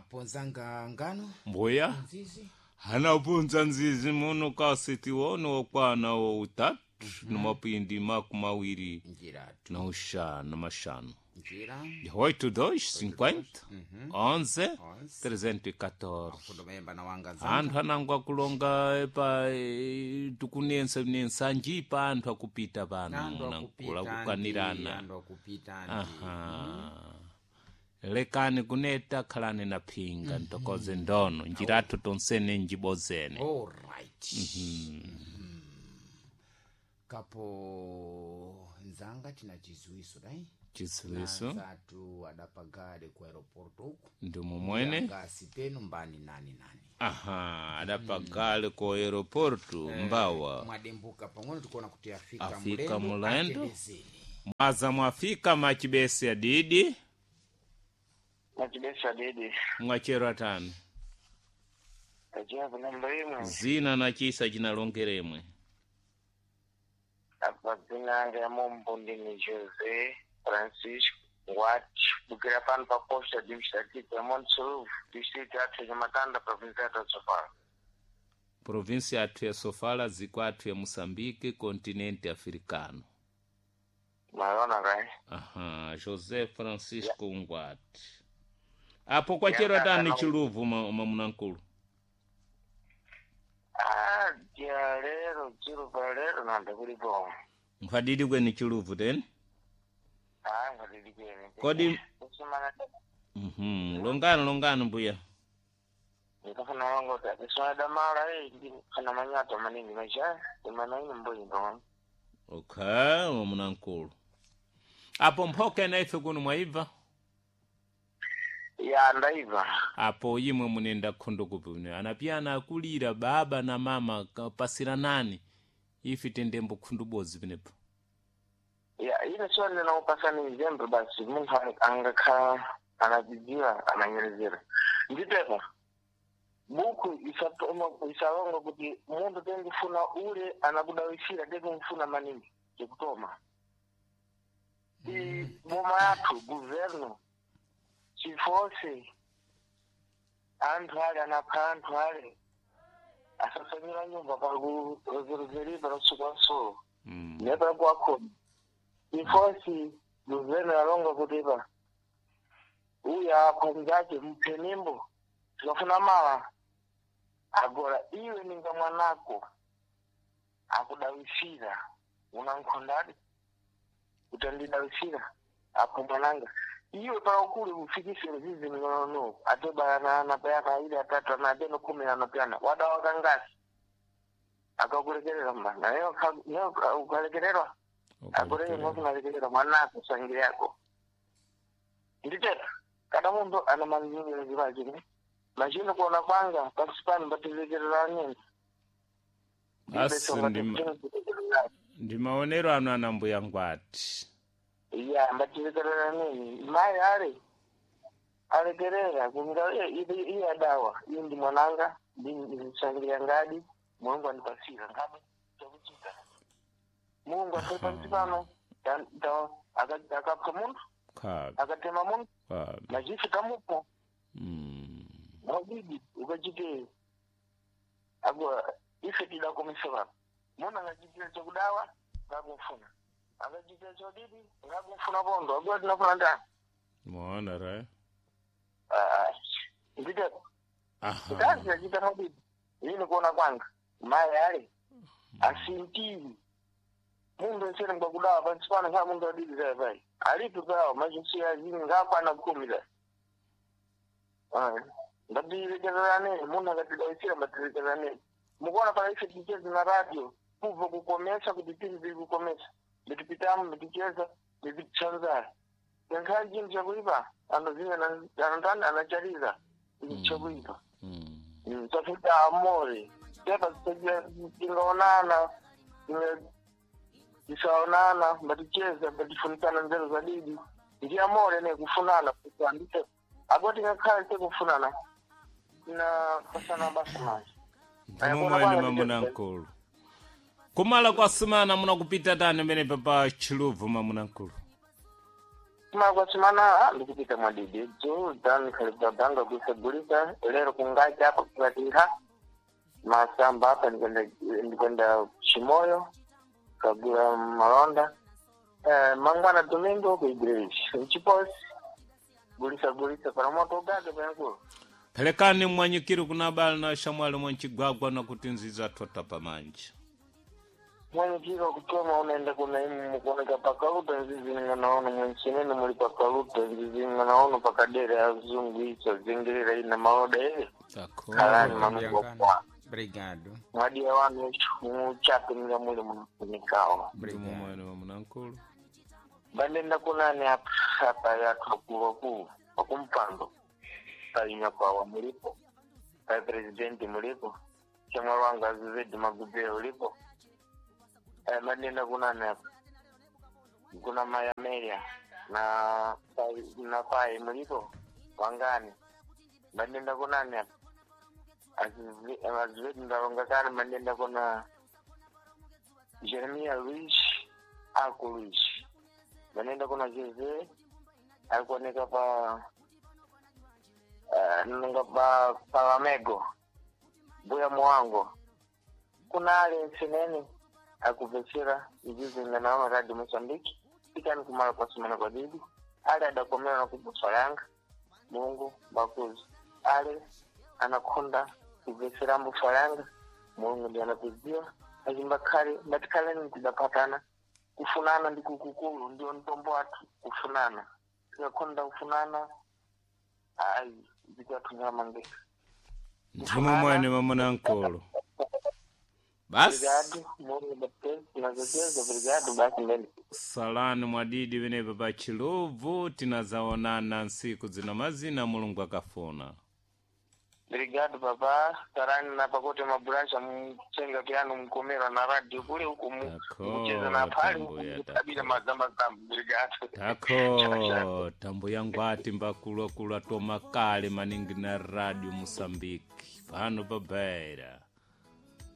Apo nzanga ngano Mbuya nzizi anapunza nzizi muno kasiti wono wakwana wa utatu na mapindi 20 njira tu na uxanu maxanu njira 8 2 50 11 Onze. 314 fundo mayemba na wanga nzanga anthu anango akulonga pa tikunensa nensanji pa anthu akupita pano Anthu nankula akupita ndi, kukanirana anthu akupita ndi. Aha. Lekani kuneta khalani na phinga ntokoze ndono njirathu tonsene njibozene. Alright. Kapo nzanga tina chiziwiso dai Chiziwiso zatu adapagale ku aeroporto uku ndi mumwene ngasi penu mbani nani nani. Aha, adapagale ku aeroporto mbawa Mwadembuka pang'ono tikuona kuti afika, Afika mulendo. atembezeni. Mwaza mwafika machibesi adidi. Machibesa didi. Mwachero atani. Tajiwa namba imwe. Zina na chisa chinalongeremwe. Apa dzina ya mombo ndini José Francisco Ngwati. Bukira pano pa posta administrativa ya Montsuluvu, distrito yathu ya Matanda, província yathu ya Sofala. Província yathu ya Sofala, ziko athu ya Moçambique, continente africano. Maona kai? Aha, José Francisco Ngwati. Apo kwachero atani chiluvu mamunankulu. Ah, dia lero, chiro pa lero nanda kulipo. Mphadidi kweni chiluvu teni? Ah, ngadidi kwene. Kodi Kusimana longano longano mbuya. ndikafuna longo ta kusona damala eh ndi kana manyato maningi macha imana ino mboyi ndo. Okay, mamunankulu. Apo mphoka na ife kuno mwaibva? Ya ndaiva. Apo imwe munenda khondo kupi kuno anapiyana akulira baba na mama pasiranani ife tendembo khundu bodzi penepo. Ya ile swali linakupasa ni jembe basi munthu angakhala anadzidziwa ananyerezera nditepa buku isatoma isalonga kuti munthu tengufuna ule anakudawisira tekumfuna maningi chikutoma i boma yathu guverno chifose anthu ale anapha anthu ale asasanyira nyumba pakurozerozeripa lasuku nepa kwakhona ifosi luveno yalonga kutipa uyu akhonzace mphenimbo tikafuna mala agora iwe ninga mwanako akudawisira unankhondadi utandidawisira apo mwananga iwe paukulu ufikisire zizi mnono atobayana anapayana ile atatu anateno 10 anapayana wadawa kangasi akakulekerera mbana naye ukalekererwa akureke ngokunalekerera mwanako sangire yako nditeta kada munthu ana manzingirazivachine machino kuona kwanga pansi pano mbatilekerera nini. Asi ndi maonero anu ana mbuya Ngwati. Ya mbatilekerera nini mayi ale alekerera kunga iye adawa iye ndi mwananga ndisangira ngadi Mulungu andipasira ngabe chakuchita Mulungu atoi pansi pano akapha munthu Khabe akatema munthu khabe. machifu kamupo mwadidi ukachite agora ife tidakomesa pano munthu angachitira chakudawa ngakumfuna akachitira chodidi ngakumfuna pondo agora tinafuna ndani. Mwaona ra? Nditeko Aha. kazi achita mwadidi ini kuona kwanga mayi ale asintiri munthu ensene ngwakudawa pansi pano nkhala munthu adidi zaye pai alipo pawo machisiya azini ngakwana 10 zaye ngatilekererane munthu akatidawisira ngatilekererane mukuona pala ife ticheza na radio kubva kukomesa kuti tiri tiri kukomesa mitipitamo miticheza mititsanzara yankhala chinthu chakuipa anozinya anotani anachaliza chakuipa tafika amore tepa tingaonana tisaonana mbaticheza mbatifunikana nzeru za didi ndi amore ne kufunana andite apo tingakhala tikufunana na pasana basa manje. Ndimomwene mamunankulu. Kumala kwa sumana munakupita tani mene pa chiluvu mamunankulu. Kumakwachimana ndikupita mwadidi dzu dan khalibabanga kuisagulisa lero kungacha apa kukatinha masamba apa ndikwenda chimoyo kagula malonda mangwana domingo ku igreja mchiposi gulisa gulisa para moto ugage payankulu. Pelekani mwanyikiri kuna bala na shamwali mwanchigwagwa na kuti nziza tota pamanja. Mwenyekiro kutoma unaenda kuna imu mukuoneka pakaluta nzizi nganaono mwenchinene muli pakaluta nzizi nganaono pakadera azungu icho zingirira ina maloda ele kalani Tako. manungo kwa Obrigado. mwadiya wanu muchape nga muli munafunikawa Ndimo Obrigado. mwene wa munankulu. bandenda kunani apa apa yathu akulu pakumpando painya kwawa mulipo pai presidenti mulipo chemwali wangu azizedi magubeo ulipo bandenda kunani apa kuna mayamelia na na pai mulipo wangani bandenda kunani apa azizedi ndalonga kale bandenda kuna Jeremia Luis ako Luis vanenda kuna Jose alikuoneka pa nunga pa Palamego mbuya muwango kuna ale nsinene akuvesera izizi nganaona radio Mozambique ikani kumala kwa simana kwa didi ale adakomera na kubusalanga Mulungu bakuzi ale anakonda kuvesera mbusalanga Mulungu ndiye anakuziwa azimbakhale ngatikhaleni tidapatana kufunana ndi kukukulu ndio mtombo wathu kufunana tikakonda kufunana ayi zikathunyamangeka Ndimo mwene wa munankulu. Basi. obrigado Mulungu baptezi tunazokeza obrigado basi mbele. Salani mwadidi venepa pa Chiluvu tinazaonana nsiku zina mazina Mulungu akafuna. Obrigado papa tarani na pakote maburasha mchenga piano mkomera na radio kule huku Tako, mcheza na pale huku tambuya, mkutabila tako. mazamba zamba obrigado. Tako tambo yangu ati mbakulwakulu atoma kale maningi na radio Mosambiki pano pabaira.